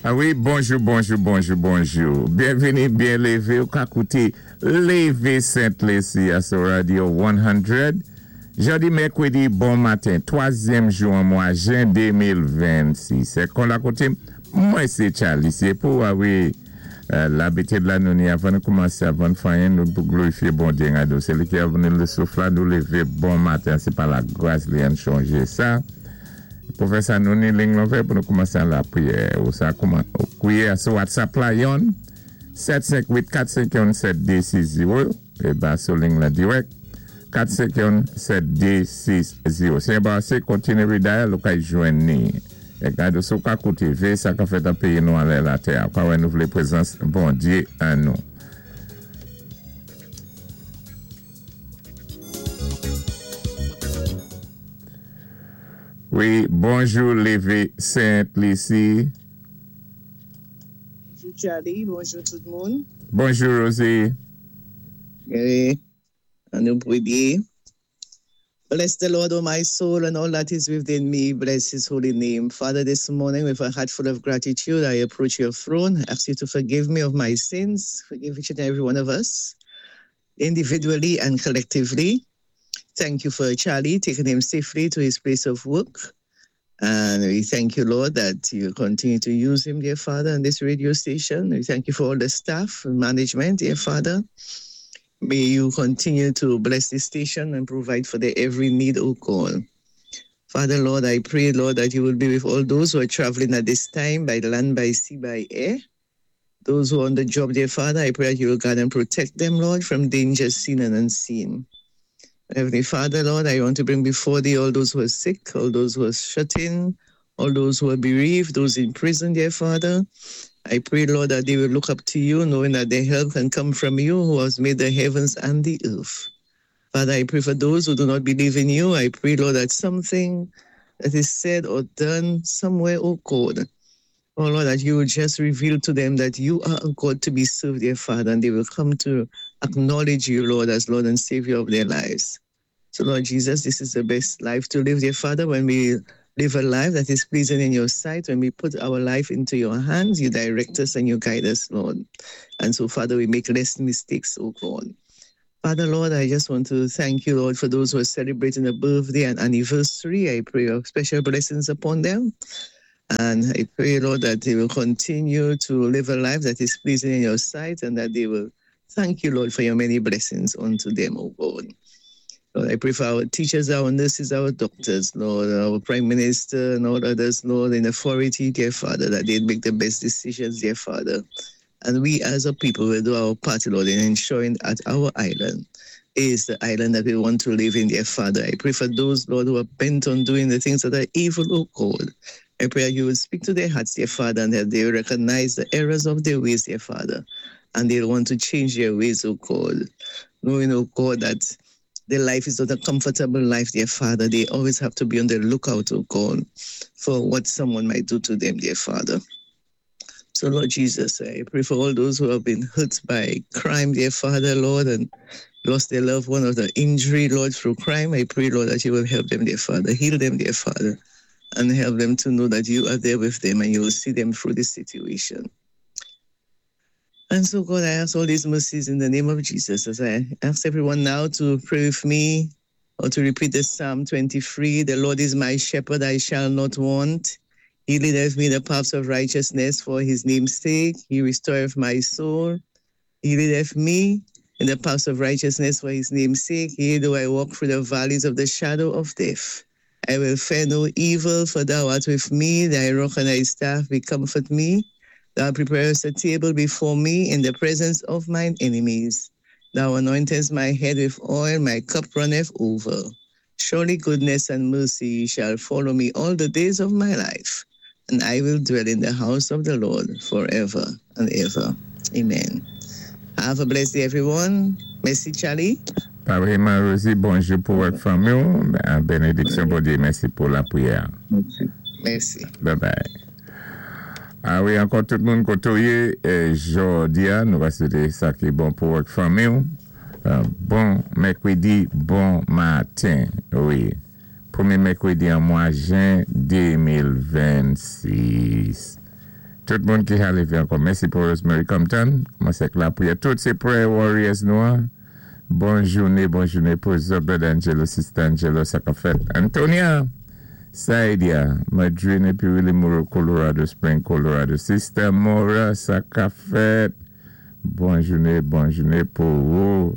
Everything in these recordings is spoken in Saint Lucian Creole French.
A wi, bonjou, bonjou, bonjou, bonjou. Byenvini, byen lévé. Ou ka kouté Lévé Sent Lisi a sou Radio 100. Jòdi mèkwédi bon maten, twazyèm jou an mwa jen 2026. Sé kon la koté, mwen sé Charlie sé pou a wi labitid la nou ni avan nou koumansé avan fè anyen nou pou glorifié Bondyé nga nou. Sé li ki ban nou souf la nou lévé bon maten sé pa la gras li ann chonjé sa. Pou fè sa nou ni ling lan ouvè pou nou koumansé an lapriyè. Ou sa kouman ou kwiyé a sou WhatsApp la yonn 7 5 8 4 5 1 7 2 6 0 é ba sou ling lan dirèk 4 5 1 7 2 6 0. Si enbarasé kontiné redial ou kay jwenn ni. É gade si ou ka kouté véyé sa ka fèt an péyi nou anlè latè a. Ou ka wè nou vlé prezans Bondyé an nou. Wi bonjou leve Sent Lisi. Bonjou Charly, bonjou tout moun. Bonjou Rosie. Wi, an nou pwiyé. Bless the Lord, O my soul, and all that is within me. Bless his holy name. Father, this morning, with a heart full of gratitude, I approach your throne. Ask you to forgive me of my sins. Forgive each and every one of us, individually and collectively. Thank you for Charlie taking him safely to his place of work. And we thank you, Lord, that you continue to use him, dear Father, on this radio station. We thank you for all the staff and management, dear Father. May you continue to bless this station and provide for their every need, O God. Father, Lord, I pray, Lord, that you will be with all those who are traveling at this time by land, by sea, by air. Those who are on the job, dear Father, I pray that you will guard and protect them, Lord, from danger seen and unseen. Heavenly Father, Lord, I want to bring before thee all those who are sick, all those who are shut in, all those who are bereaved, those in prison, dear Father. I pray, Lord, that they will look up to you, knowing that their help can come from you, who has made the heavens and the earth. Father, I pray for those who do not believe in you. I pray, Lord, that something that is said or done somewhere, oh God, oh Lord, that you will just reveal to them that you are a God to be served, dear Father, and they will come to acknowledge you, Lord, as Lord and Savior of their lives. So, Lord Jesus, this is the best life to live, dear Father, when we live a life that is pleasing in your sight, when we put our life into your hands, you direct us and you guide us, Lord. And so, Father, we make less mistakes, oh God. Father, Lord, I just want to thank you, Lord, for those who are celebrating a birthday and anniversary. I pray your special blessings upon them. And I pray, Lord, that they will continue to live a life that is pleasing in your sight and that they will thank you, Lord, for your many blessings unto them, O God. Lord, I pray for our teachers, our nurses, our doctors, Lord, our Prime Minister and all others, Lord, in authority, dear Father, that they make the best decisions, dear Father. And we as a people will do our part, Lord, in ensuring that our island is the island that we want to live in, dear Father. I pray for those, Lord, who are bent on doing the things that are evil, O God. I pray that you will speak to their hearts, dear Father, and that they will recognize the errors of their ways, dear Father, and they'll want to change their ways, O God. Knowing, O God, that their life is not a comfortable life, dear Father. They always have to be on the lookout, O God, for what someone might do to them, dear Father. So, Lord Jesus, I pray for all those who have been hurt by crime, dear Father, Lord, and lost their loved one or the injury, Lord, through crime. I pray, Lord, that you will help them, dear Father, heal them, dear Father, and help them to know that you are there with them and you will see them through this situation. And so, God, I ask all these mercies in the name of Jesus as I ask everyone now to pray with me or to repeat the Psalm 23 The Lord is my shepherd, I shall not want. He leadeth me in the paths of righteousness for his name's sake. He restoreth my soul. He leadeth me in the paths of righteousness for his name's sake. Yea, though I walk through the valleys of the shadow of death, I will fear no evil, for thou art with me. Thy rod and thy staff, they comfort me. Thou preparest a table before me in the presence of mine enemies. Thou anointest my head with oil, my cup runneth over. Surely goodness and mercy shall follow me all the days of my life, and I will dwell in the house of the Lord forever and ever. Amen. Have a blessed day, everyone. Mèsi, Charlie. Pareman, Rosie, bonjou pou wòt fanmi. Benediksyon Bondyé, mèsi pou lapriyè. Mèsi. Bye bye. A wi, ankò tout moun koté ou yé, jòdi a, nou va swété sa ki bon pou wòt fanmi. Bon mèkwédi, bon maten. Wi. Pwémyé mèkwédi an mwa jen 2026. Tout moun ki ka lévé ankò. Mèsi pou Rosemary Compton. Koumansé ak lapriyè. Tout sé prayer warriors nou an. Bon jouné, bon jouné pou Zobed Angelo, Sister Angelo, sa ka fèt. Antonia, Saidia, Madrine épi Willie Moore, Colorado Spring, Colorado. Sister Mora, sa ka fèt. Bon jouné, bon jouné pou ou.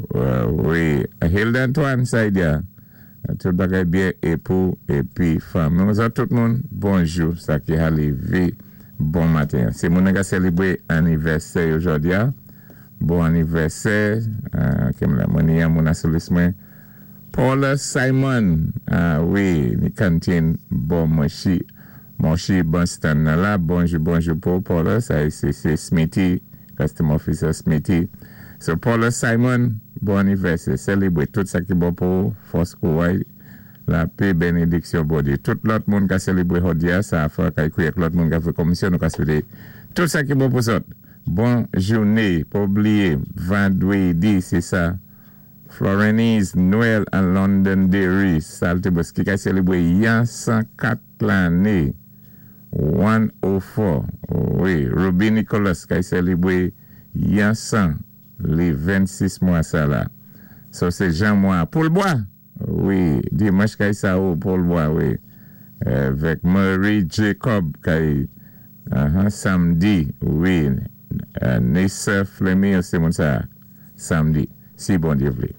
Wi. Hilda Antoine, Saidia. Tout bagay byen é pou épi fanmi. Tout moun, bonjou. Sa ki ka lévé. Bon maten. Sé moun ki sélébwé anivèsè jòdi a. Bon anivèsè. Mwen moun asolis mwen. Paula Simon. Ah wi, ni kantin bon monchi. Monchi Boston la. Bonjou, bonjou pou Paula. Sa sé Smithy, Customer Officer Smithy. So Paula Simon, bon anivèsè. Sélébwé tout sa ki bon pou fòs kouray, lapè, bénédiksyon, Bondyé. Tout lòt moun ka sélébwé jòdi a, sa fè kay lòt moun ka fè komisyon, nou ka swété tout sa ki bon pou zòt. Bon jouné, pa blié, vandwédi, sé sa. Florenise Noël an Londonderry, Saltibus, ki ka sélébwé yon 104 lanné. 104. Wi, Ruby Nicholas ki sélébwé yon 100 lé 26 mwa sa la. So sé Jean mwa. Paul Bois. Wi, dimanch kay sa ou Paul Bois, wi. Avèk Murray Jacob kay samdi, wi. Nessa Fleming, sé moun sa samdi, si Bondyé vlé.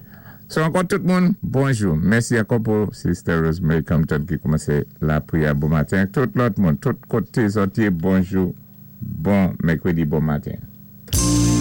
So ankò tout moun, bonjou. Mèsi ankò pou Sister Rosemary Compton ki koumansé lapriyè bon maten. Tout lòt moun, tout koté zòt yé, bonjou. Bon mèkwédi, bon maten.